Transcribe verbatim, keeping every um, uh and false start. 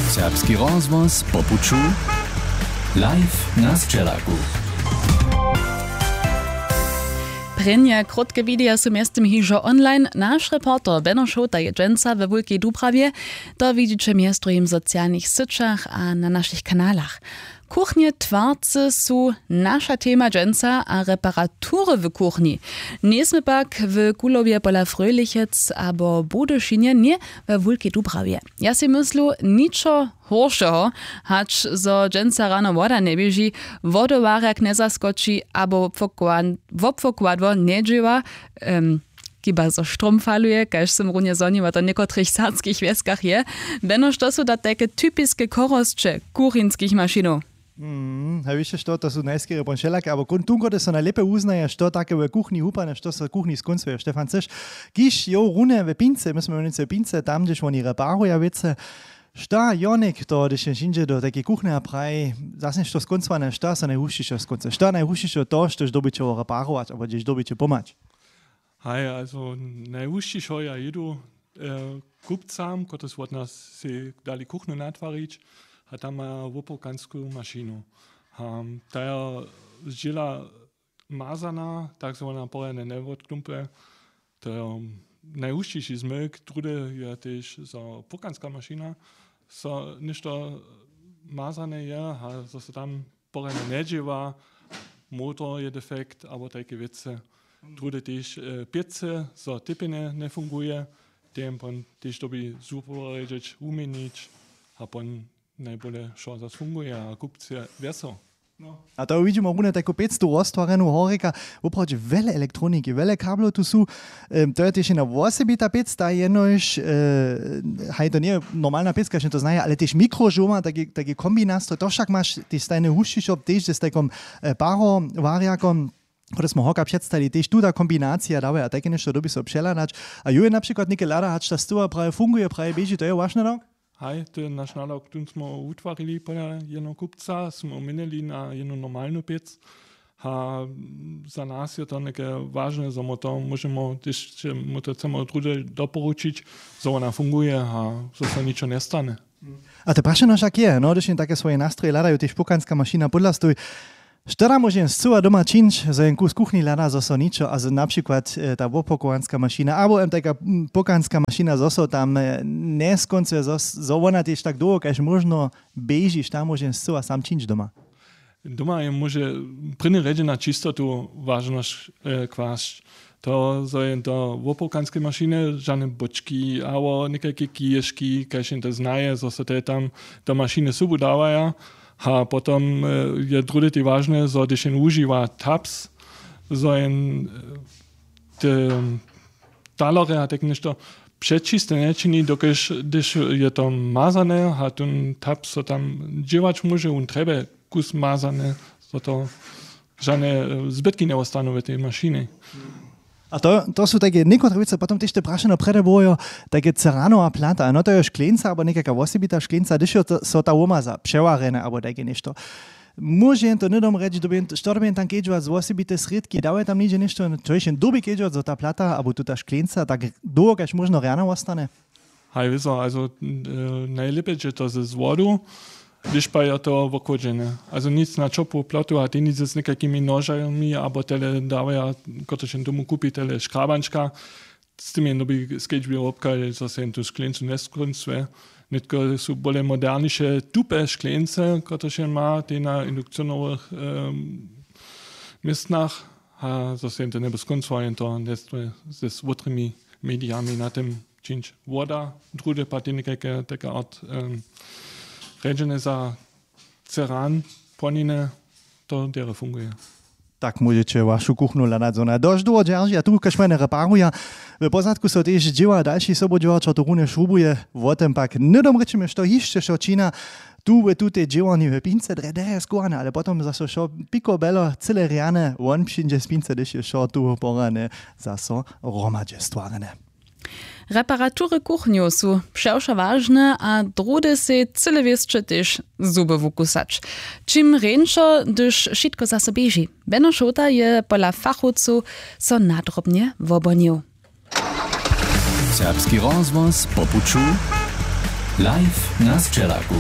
Serbski rozhłos po puću. Live na sćelaku. Prěnje krótke wideja su mjeztym hižo online. Naš reporter Beno Šołta je dźensa we Wulkej Dubrawje. To widźiće mjez druhim w socialnych syćach a na našich kanalach. Kuchnje twarce su naša tema dźensa a reparatury w kuchnji. Njejsmy pak w Kulowje pola Fröhlichec abo Budyšinje, ně we Wulkej Dubrawje. Ja sej myslu, ničo horšeho, hač zo dźensa rano woda njeběži, wodowarjak njezaskoči abo wobpokład- wobpokładło njedźěła, em, kiba zo štrom faluje, kaž sym runje zhoniła, to w někotrych serbskich wjeskach je. Beno, što su da tajke typiske chorosće kurinskich mašinow? Mm, haj, wěš što, to su najskerje pon wšelake, abo kun- tun kotrež so najlěpje wuznaje, što take w kuchni hupane, što so w kuchni skónc wějo. Štefan, chceš, kiž jo runje w pince, my smy w pince, tam hdźež woni reparuja wěcy, šta jo něk to, hdyž je žińdźe do tajkeje kuchnje a praji, zas něšto skóncowane, šta so najhušćišo skónce, šta najhušćišo to, štož dyrbiće reparować abo hdźež dyrbiće pomhać? Haj, also najhušćišo ja jědu, e, kupcam, kotrež wot nas sej dali kuchnu natwarić, a tam maja wopowkansku mašinu. A ta jo zdźěla mazana, tak zo wona porjadnje njewotklumpe. To jo najhušćiši zmyk. Druhdy je tež zo purkanska mašina, zo něšto mazane je a zo so tam porjadnje njedźěła, motor je defekt abo tajke wěcy. Druhdy tež, e, pěcy, zo tepjenje njefunguje, ten pon tež dyrbi zuporjedźeć, wuměnić a pon najbóle wšo zas funguje a kupc je wjesel. A to widźimo runje tajku pěc tu roztwarjenu horjeka, woprawdźe wjele elektroniki, wjele kablow tu su. Em, to je tež jedna wosebita pěc, ta jenož, e, haj, to njeje normalna pěc, kaž to znaje, ale tež mikrožołma, taki, taki kombinastroj, to wšak maš tež stajne hušćišo, tež z tajkom, e, parowarjakom, kotrež smo horka předstali, tež tuta kombinacija dawaja tajke něšto, dyrbi so přehladać. A ju je na přikład něke hlada, hač ta stuwa praje funguje, praje běži, to je waš nadawk? Haj, to je naš nadawk, tón smo wutwarili pola jednoho kupca, smo měnili na jednu normalnu pěc. A za nas je to něke wažne, zo my to móžemy, hdyž mu to chcemy druhdy doporučić, zo wona funguje a zo so ničo njestanje. A to prašeno wšak je, no, hdyž jen take swoje nastroje hladajo, tež pukanska mašina pódla stoj. Što da móže jen scyła doma čińć, zo jen kus kuchni hlada, zo so ničo, a zo na přikład, e, ta wopokowanska mašina abo em tajka, mm, pokanska mašina, zo so tam, e, njeskoncuje, zo, zo wona tež tak dołho kaž móžno běži, što da móže jen scyła sam čińć doma? Doma je móže w prěnjej rjedźe na čistotu wažnosć, e, kłasć. To, zo je do wopołkanskej mašiny žane bóčki abo někajke kiješki, kaž jen to znaje, zo so te tam do mašiny sobu dawaja. A potom, e, je druhdy tež wažne, zo hdyž jen wužiwa taps, zo jen, e, te talore a tak něšto přečiste nječini, dokelž hdyž je to mazane a tón taps so tam dźěłać móže, wón trjebje kus mazane, zo to žane, e, zbytki njewostanu w tej mašinje. A to, to su tajke někotre wěcy, potom tež te prašeno prjedy było jo, tajke ceranowa plata, no to je škleńca abo někajka wosebita škleńca, hdyž jo to, so ta womaza přewarjene abo tajke něšto. Móže jen to hnydom rjeć, dyrbi jen to, što dyrbi jen tam kedźować, wosebite srědki, dawa je tam něhdźe něšto, to je jen dyrbi kedźować, zo ta plata abo tuta škleńca tak dołho kaž móžno rjana wostane? Haj, wězo, also, e, najlěpje dźe to z wodu, hdyž pak je to wochłodźene. Also nic na ćopłu plotu a tež nic z někajkimi nožami, abo tele dawaja, kotrež jen tomu kupi, tele škrabančka, z tym jen dyrbi skedźbě wobchadźeć, zo so jen tu škleńcu njeskoncuje. Nětko su bóle moderniše tupe škleńce, kotrež jen ma tež na indukcionowych, em, městnach. A zo so jen to njeby skoncował, jen to njestoji ze słodrymi medijami na tym čińć. Woda, druhdy pak tež někajke, take art, em, rjedźene za ceran, płoniny, to derje funguje. Tak móžeće wašu kuchnu hladać, zo wona dosć dołho dźerži a tu kaž maj njereparuja. W pozadku so tež dźěła dalši sobudźěłaćo tu runje šrubuje. Wo tym pak hnydom rěčimy, što hišće wšo čina tu w tutej dźěłarni w pince, drje derje schowane, ale potom zaso wšo pikobelo, cyle rjane, won přińdźe z pince, hdyž je wšo tu porjadnje zaso hromadźe stwarjene. Reparatury kuchnjow su přewšo wažne a druhdy sej cyle wěsće tež zuby wukusać. Čim rjeńšo, hdyž wšitko zaso běži. Beno Šołta je pola fachowcow so nadrobnje wobhonił. Serbski rozhłos po puću. Live na sćelaku.